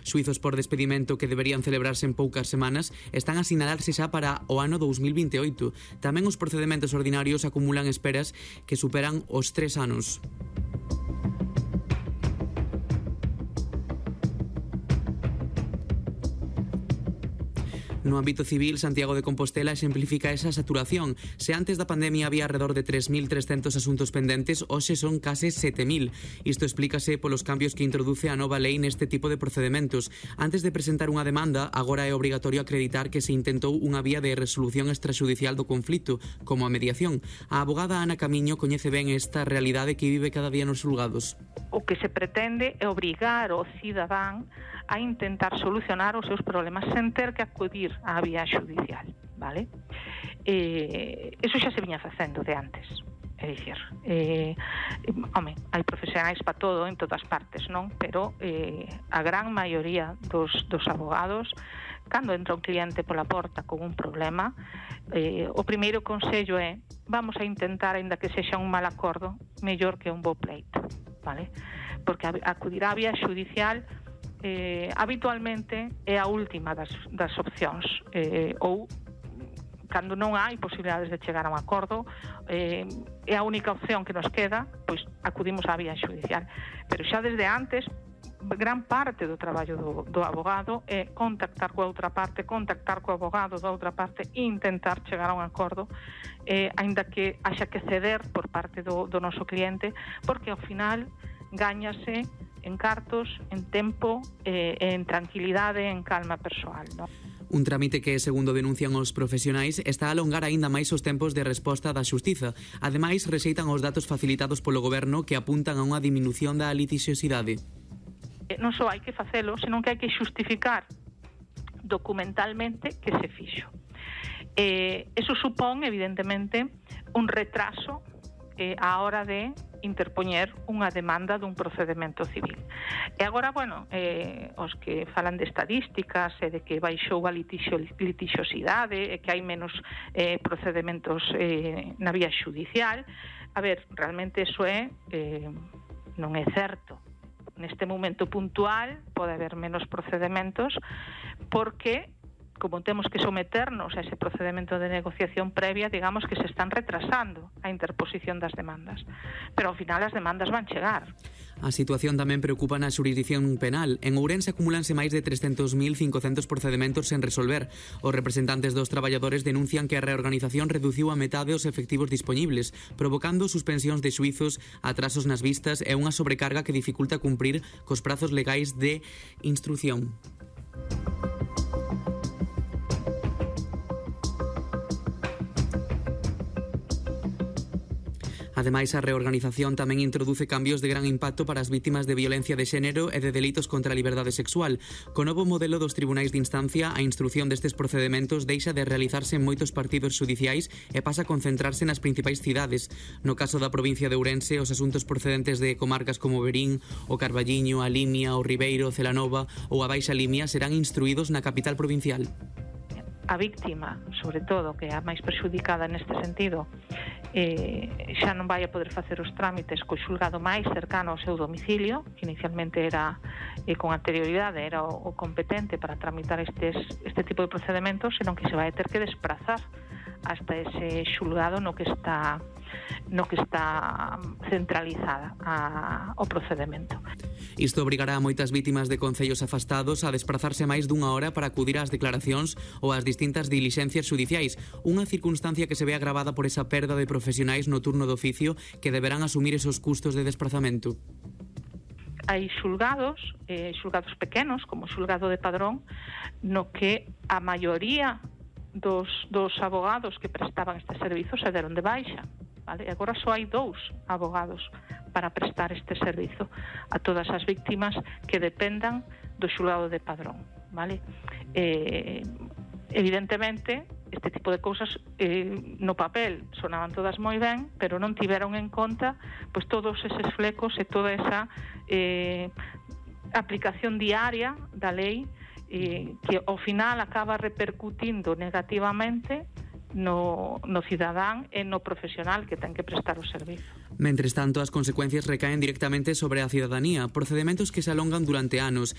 Xuizos por despedimento que deberían celebrarse en poucas semanas están a sinalarse xa para o ano 2028. Tamén os procedementos ordinarios acumulan esperas que superan os 3 anos. No ámbito civil, Santiago de Compostela exemplifica esa saturación. Se antes da pandemia había alrededor de 3.300 asuntos pendentes, hoxe son case 7.000. Isto explícase polos cambios que introduce a nova lei neste tipo de procedementos. Antes de presentar unha demanda, agora é obrigatorio acreditar que se intentou unha vía de resolución extrajudicial do conflito, como a mediación. A abogada Ana Camiño coñece ben esta realidade que vive cada día nos xulgados. O que se pretende é obrigar o cidadán a intentar solucionar os seus problemas sen ter que acudir á vía xudicial, vale? Eso xa se viña facendo de antes, é dicir, hai profesionais para todo en todas partes, non? Pero a gran maioría dos abogados, cando entra un cliente pola porta con un problema, o primeiro consello é: vamos a intentar, aínda que sexa un mal acordo, mellor que un bo pleito, vale? Porque acudir á vía xudicial habitualmente é a última das opcións, ou cando non hai posibilidades de chegar a un acordo, é a única opción que nos queda, pois acudimos á vía xudicial. Pero xa desde antes, gran parte do traballo do abogado é contactar coa outra parte, contactar co abogado da outra parte e intentar chegar a un acordo, aínda que haxa que ceder por parte do noso cliente, porque ao final gáñase en cartos, en tempo, en tranquilidade, en calma persoal, non? Un trámite que, segundo denuncian os profesionais, está a alongar aínda máis os tempos de resposta da xustiza. Ademais, rexeitan os datos facilitados polo goberno que apuntan a unha diminución da litixiosidade. Non só hai que facelo, senón que hai que xustificar documentalmente que se fixo. Eso supón, evidentemente, un retraso á hora de interpoñer unha demanda dun procedemento civil. E agora, os que falan de estadísticas e de que baixou a litixiosidade e que hai menos procedementos na vía xudicial, realmente eso non é certo. Neste momento puntual pode haber menos procedementos porque, como temos que someternos a ese procedemento de negociación previa, digamos que se están retrasando a interposición das demandas. Pero ao final as demandas van chegar. A situación tamén preocupa na xurisdicción penal. En Ourense acumúlanse máis de 300.500 procedementos sen resolver. Os representantes dos traballadores denuncian que a reorganización reduciu a metade os efectivos dispoñibles, provocando suspensións de xuizos, atrasos nas vistas e unha sobrecarga que dificulta cumprir cos prazos legais de instrución. Ademais, a reorganización tamén introduce cambios de gran impacto para as vítimas de violencia de xénero e de delitos contra a liberdade sexual. Co novo modelo dos tribunais de instancia, a instrución destes procedementos deixa de realizarse en moitos partidos xudiciais e pasa a concentrarse nas principais cidades. No caso da provincia de Ourense, os asuntos procedentes de comarcas como Verín, o Carballiño, a Limia, o Ribeiro, Celanova ou a Baixa Limia serán instruídos na capital provincial. A víctima, sobre todo, que é a máis perxudicada neste sentido, xa non vai a poder facer os trámites co xulgado máis cercano ao seu domicilio, que inicialmente era, con anterioridade, era o competente para tramitar este tipo de procedementos, senón que se vai ter que desplazar hasta ese xulgado no que está centralizada o procedemento. Isto obrigará a moitas vítimas de concellos afastados a desplazarse máis dunha hora para acudir ás declaracións ou ás distintas dilixencias xudiciais, unha circunstancia que se ve agravada por esa perda de profesionais no turno de oficio que deberán asumir esos custos de desplazamento. Hai xulgados pequenos, como o xulgado de Padrón, no que a maioría dos abogados que prestaban este servizo se deron de baixa. Vale? E agora só hai 2 abogados para prestar este servizo a todas as víctimas que dependan do xulgado de Padrón. Vale? Evidentemente, este tipo de cousas no papel sonaban todas moi ben, pero non tiveron en conta pois todos eses flecos e toda esa aplicación diaria da lei que ao final acaba repercutindo negativamente no cidadán e no profesional que ten que prestar o servizo. Mentres tanto, as consecuencias recaen directamente sobre a cidadanía, procedementos que se alongan durante anos,